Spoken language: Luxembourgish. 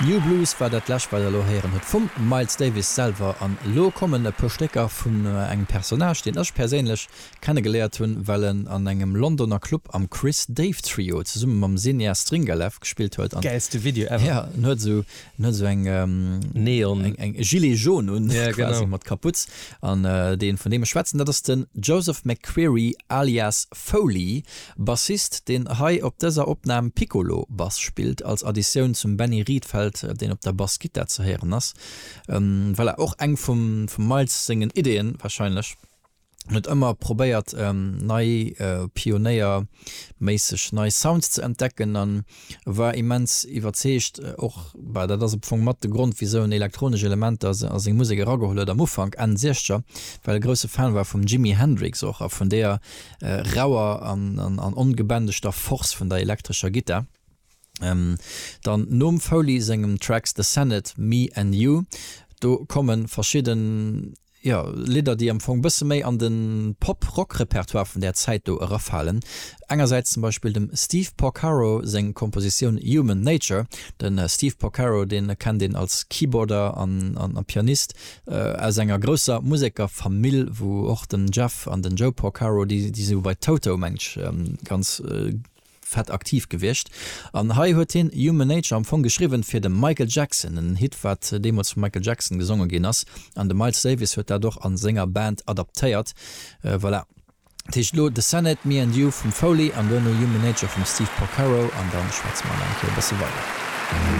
New Blues war dat lescht wat der elo héieren hutt vum Miles Davis selwer. An elo kommen e puer Stécker vun engem Personnage deen ech perséinlech kennegeléiert hunn, well en an engem Londoner Club am Chris Dave Trio zesumme mam Zenia Stringalev gespillt huet. An Gäilste Video ever. Ja, en huet esou en huet esou eng Neon eng eng Gilet jaune un Ja, quasi genau. mat Kaputz. An deen vun deem ech schwätzen, dat ass den Joseph McCreary alias Foley, Bassist, deen hei op dëser Opnam Piccolo Bass spillt, als Additioun zum Benny Rietveld, deen op der Bassgittar ze héieren ass. Voilà, och eng vum Miles sengen Ideeën wahrscheinlech. En huet ëmmer probéiert nei pionéierméisseg nei Sounds ze entdecken an war immens iwwerzeegt och, bah dat ass am Fong mat de Grond wisou en elektronesch Elementer a seng Musek erageholl huet am Ufank, Enn Siechzeger, well e grousse Fan war vum Jimi Hendrix och a vun deeër rauer an ongebändegter Force vun der elektrescher Gittar. Dann nom Foley sengem Tracks The Senate, Me and You, do komme verschidden, jo, Lidder, déi am Fong bësse méi an de Pop-Rock-Repertoire vun där Zäit do erafalen. Engersäits zum Beispill dem Steve Porcaro seng Kompositioun Human Nature. De Steve Porcaro, dee kennt een als Keyboarder an Pianist aus enger grousser Musekerfamill, wou och den Jeff an den Joe Porcaro, déi si bei Toto, mengt ech, ganz fett aktiv gewiescht. An hei huet hien Human Nature am Fong geschriwwen fir de Michael Jackson, en Hit wat deemools vum Michael Jackson gesonge ginn ass. An de Miles Davis huet dat och a senger Band adaptéiert. Voilà. Dat heescht elo The Senate, Me and You vum Foley an duerno Human Nature vum Steve Porcaro an dann schwätze mer nach eng Kéier e bësse weider.